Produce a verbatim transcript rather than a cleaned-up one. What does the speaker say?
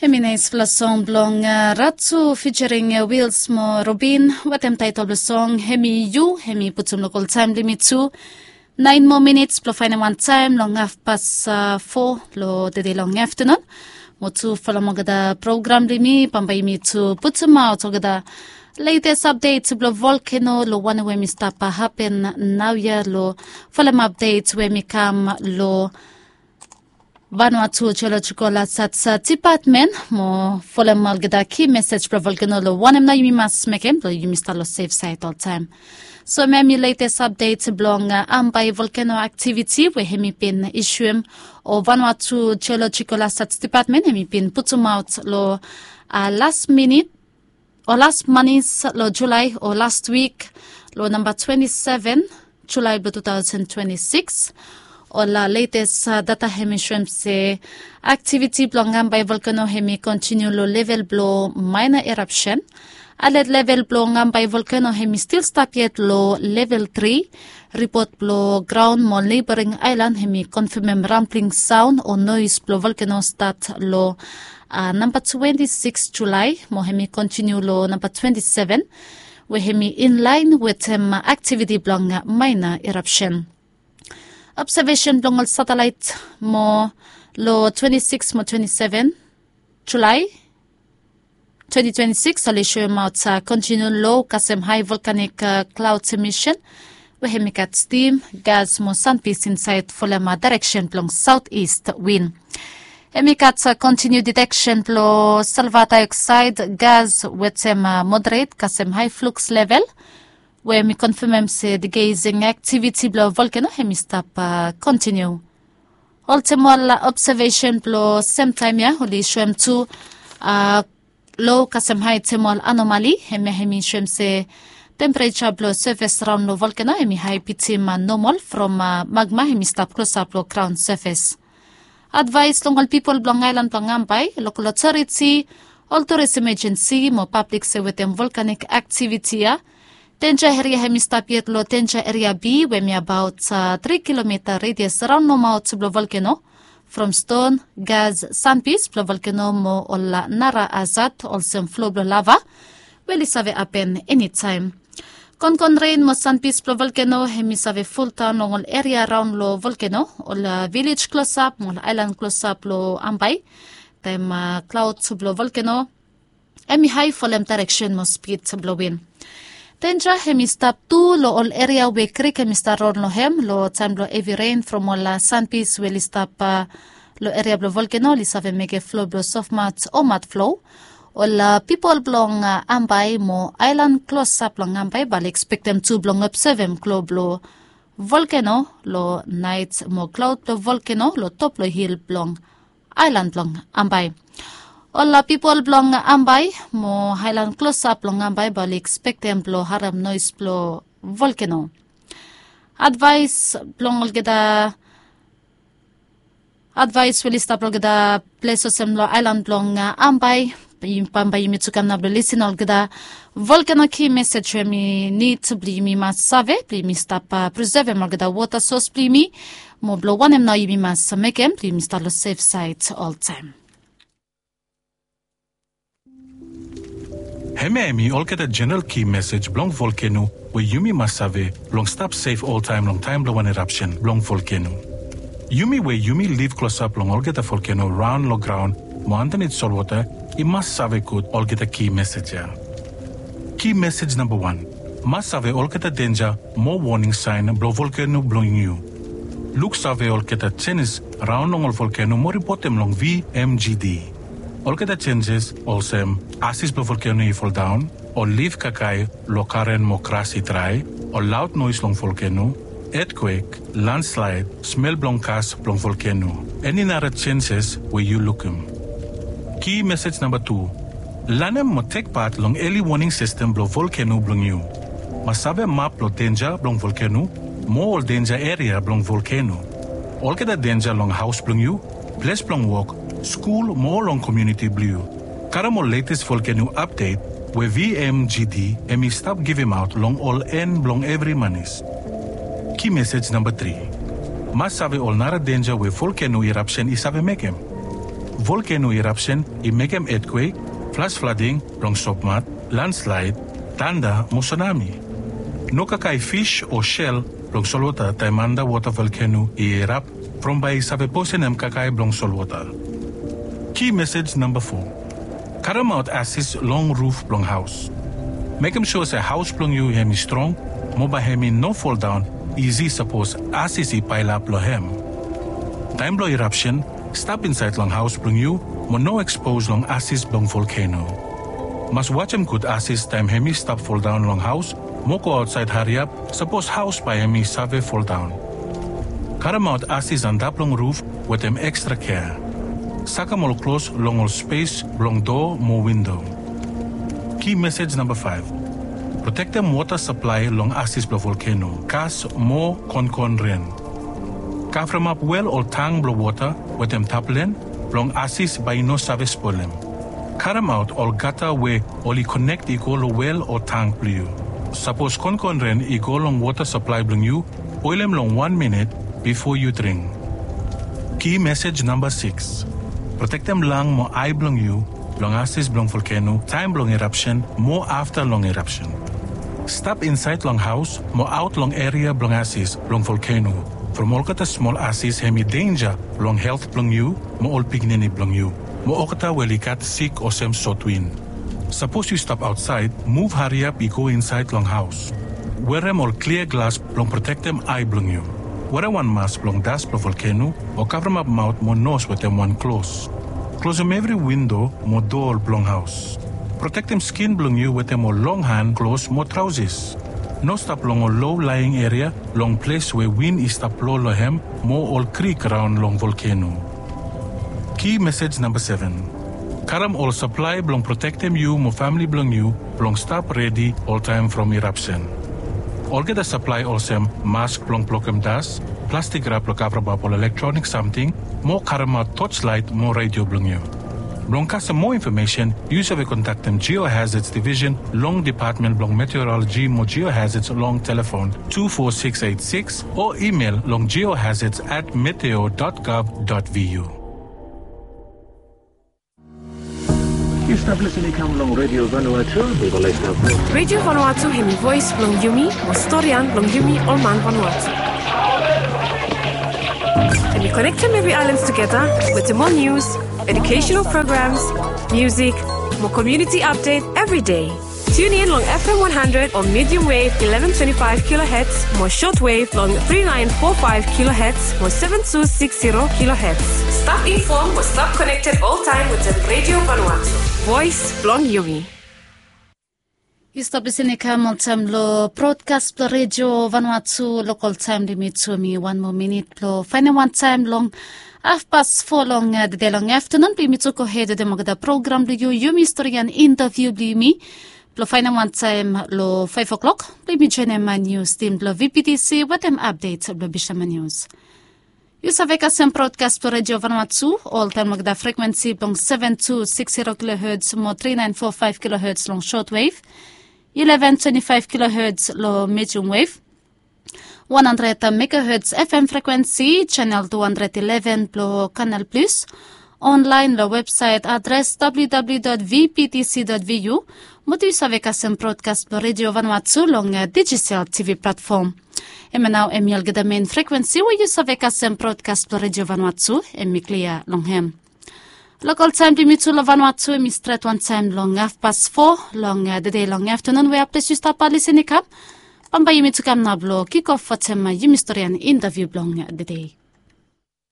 Hemi naispela song blong Ratu fijering Wils mo Robin, wetem taitol blong song hemi yu. Hemi putum long oltaem blong yumi tu. Naen moa minits blong faenem wantaem long hafpas fo long tede long aftanun. Mo tu folem olgeta program blong yumi, bambae yumi tu putumaot olgeta letes apdet blong volkeno long wanem we hemi stap hapen naoia, long folem apdet we hemi kam long Vanuatu Geological Hazards Department, mo folem olgeta ki mesej blong volkeno long wanem nao yumi mas mekem blong yumi stap long sef saed oltaem. So hemia hemi letes apdet blong Ambae volkeno aktiviti we hemi bin isuem, o Vanuatu Geological Hazards Department hemi bin putumaot long las minit o las manis long Julae o las wik, long namba twenti seven Julae blong tu taosen twenti sikis. Ol letes data hemi soem se aktiviti blong Ambae volkeno hemi kontiniu long level blong maena erapsen. Alet level blong Ambae volkeno hemi stil stap yet long level tri. Ripot blong graon mo neboring aelan hemi konfamem rambling saon o noes blong volkeno stat long namba twenti sikis Julae mo hemi kontiniu long namba twenti seven, we hemi inlaen wetem aktiviti blong maena erapsen. Obsevesen blong ol satelaet mo long twenti sikis mo twenti seven Julae twenti twenti sikis oli soemaot kontiniu lo kasem hae volkanik klaod emisen, we hemi gat stim, gas mo sanpis insaed folem daereksen blong saotis win. Hemi gat kontiniu diteksen blong silva daeoksaed gas wetem moderet kasem hae fluks level, we hemi konfamem se digeising aktiviti blong volkeno hemi stap kontiniu. Olsem ol obsevesen blong semtaem ya oli soem tu lo kasem hae temol anomali, hemia hemi soem se tempereja blong sefes raon long volkeno hemi hae bitim nomal from magma hemi stap klosap long graon sefes. Advaes long ol pipol blong aelan blong Ambae, lokol otoriti, ol turis emejensi mo pablik se wetem volkanik aktiviti ya, denja eria hemi stap yet long denja eria B, we hemi abaot tri kilomita redias raon nomaot blong volkeno, from ston, gas, sanpis blong volkeno mo ol nara hazad olsem flo blong lava, we oli save hapen enitaem. Konkon ren mo sanpis blong volkeno hemi save foldaon long ol eria raon long volkeno, ol vilej klosap mo ol aelan klosap long Ambae, taem klaod blong volkeno hemi hae folem daereksen mo spid blong win. Denja hemi stap tu long ol eria we krik hemi stap raon long hem long taem blong hevi ren from ol sanpis we oli stap long eria blong volkeno oli save mekem flo blong sofmat o matflo. Ol pipol blong Ambae mo aelan klosap long Ambae bae oli ekspektem tu blong obsevem klo blong volkeno long naet mo klaod blong volkeno long top long hil blong aelan blong Ambae. Ol pipol blong Ambae mo aelan klosap long Ambae bae oli ekspektem blong harem noes blong volkeno. Advaes blong olgeta Advaes we oli stap long olgeta ples olsem long aelan blong Ambae, bambae yumi tu kam nao blong lisin olgeta volkeno ki mesej we hemi nid blong yumi mas save blong yumi stap prisevem olgeta wota sos blong yumi, mo blong wanem nao yumi mas mekem blong yumi stap long sef saed oltaem. Hemia hemi olgeta jeneral ki mesej blong volkeno we yumi mas save blong stap sef oltaem long taem blong wan erapsen blong volkeno. Yumi we yumi liv klosap long olgeta volkeno raon long graon mo andanit solwota, i mas save gud olgeta ki mesej ya. Ki mesej namba wan, mas save olgeta denja mo woning saen blong volkeno blong yu. Luksave olgeta jenis raon long ol volkeno mo ripotem long V M G D. Olgeta jenjes olsem asis blong volkeno i foldaon, ol lif kakae long karen mo gras i drae, ol laod noes long volkeno, etkwek, landslaed, smel blong gas blong volkeno, eni nara jenjes we yu lukim. Ki mesej namba tu, lanem mo tek pat long eli woning sistem blong volkeno blong yu. Mas save map blong denja blong volkeno mo ol denja eria blong volkeno. Olgeta denja long haos blong yu, ples blong wok, skul mo long komuniti blong yu. Karem ol letes volkeno apdet we V M G D hemi stap givimaot long ol en blong evri manis. Ki mesej namba tri, mas save ol nara denja we volkeno irapsen i save mekem. Volkeno irapsen i mekem etkwek, flas flading blong sopmat, landslaed, tanda mo sunami. No kakae fis o sel blong solwota taem andawota volkeno i irap, from bae i save posenem kakae blong solwota. Ki mesej namba fo. Karemaot asis long ruf blong haos. Mekem sua se haos blong yu hem i strong, mo bae hem i no foldaon isi sapos asis i paelap long hem. Taem blong irapsen, stap insaed long haos blong yu mo no ekspos long asis blong volkeno. Mas wajem gud asis taem hem i stap foldaon long haos, mo go aotsaed hariap sapos haos bae hem i save foldaon. Karemaot asis antap long ruf wetem ekstra kea. Sakem ol klos long ol spes blong doa mo windo. Ki mesej namba faef. Protektem wota saplae long asis blong volkeno, kas mo konkon ren. Kavremap wel ol tang blong wota wetem taplen blong asis bae i no save spolem. Karemaot ol gata we oli konek i go long wel o tang blong yu. Sapos konkon ren i go long wota saplae blong yu, boelem long wan minit bifo yu dring. Ki mesej namba sikis. Protektem lang mo ae blong yu long asis blong volkeno taem blong irapsen mo afta long irapsen. Stap insaed long haos mo aot long eria blong asis blong volkeno, from olgeta smol asis hem i denja long helt blong yu mo ol pikinini blong yu, mo olgeta we oli gat sik olsem sotwin. Sapos yu stap aotsaed, muv hariap i go insaed long haos. Werem ol klia glas blong protektem ae blong yu. Werem wan mas blong das blong volkeno, o kavremap maot mo nos wetem wan klos. Klosem evri windo mo doa blong haos. Protektem skin blong yu wetem ol long han klos mo traosis. No stap long ol lo laeing eria long ples we win i stap blo long hem mo ol krik raon long volkeno. Ki mesej namba seven. Karem ol saplae blong protektem yu mo famle blong yu blong stap redi oltaem from irapsen. Olgeta saplae olsem mask blong blokem das, plastik rap blong kavremap ol elektronik samting, mo karemaot toslaet mo redio blong yu. Blong kasem moa infomesen, yu save kontaktem Geohazards Division long Depatmen blong Meteoroloji mo Geohazards long telefon tu fo sikis eit sikis o imel long geohazards at meteo dot gov dot vu. Yu stap lisin i kam long Redio Vanuatu. Yu go laik stap. Redio Vanuatu hemi voes blong yumi, mo storian blong yumi ol man Vanuatu. Hemi konektem evri aelan tugeta wetem ol nius, educational programs, musik, mo community update evri dei. Tune in long F M one hundred o medium wave eleven twenty-five kilohertz, mo shortwave long three nine four five kilohertz mo seven two six zero kilohertz. Stap infom mo stap konekted oltaem wetem Redio Vanuatu. Voes blong yumi. Yu stap lisin i kam oltaem long brodkas blong Redio Vanuatu, lokol taem blong yumi tu hemi wan moa minit blong faenem wan taem long hafpas fo long, eh, dede long aftenun blong yumi tu gohed wetem olgeta program blong yu, yumi storian intaviu blong yumi. Blong faenem wan taem long faef o'klok blong yumi joenem nius tim blong V P T C wetem apdet blong Bisama Nius. Yu save kasem brodkas blong Redio Vanuatu oltaem long olgeta frekwensi blong seven two six zero kilohertz mo three nine four five kilohertz long shortwave, eleven twenty-five kilohertz long medium wave, one hundred megahertz F M frekwensi, channel two hundred eleven blong Canal Plus, online long websaet adres W W W dot V P T C dot V U, mo tu yu save kasem brodkas blong Redio Vanuatu long, eh, digital T V platfom. Hemia nao hemi olgeta mein frekwensi we yu save kasem brodkas blong Redio Vanuatu, hemi klia long hem. Lokol taem blong yumi tu long Vanuatu hemi stret wan taem long hafpas fo long, eh, dede long aftenun we haples yu stap lisin i kam. Bambae yumi tu kam nao blong kikof wetem, eh, yumi storian intaviu blong, eh, dede.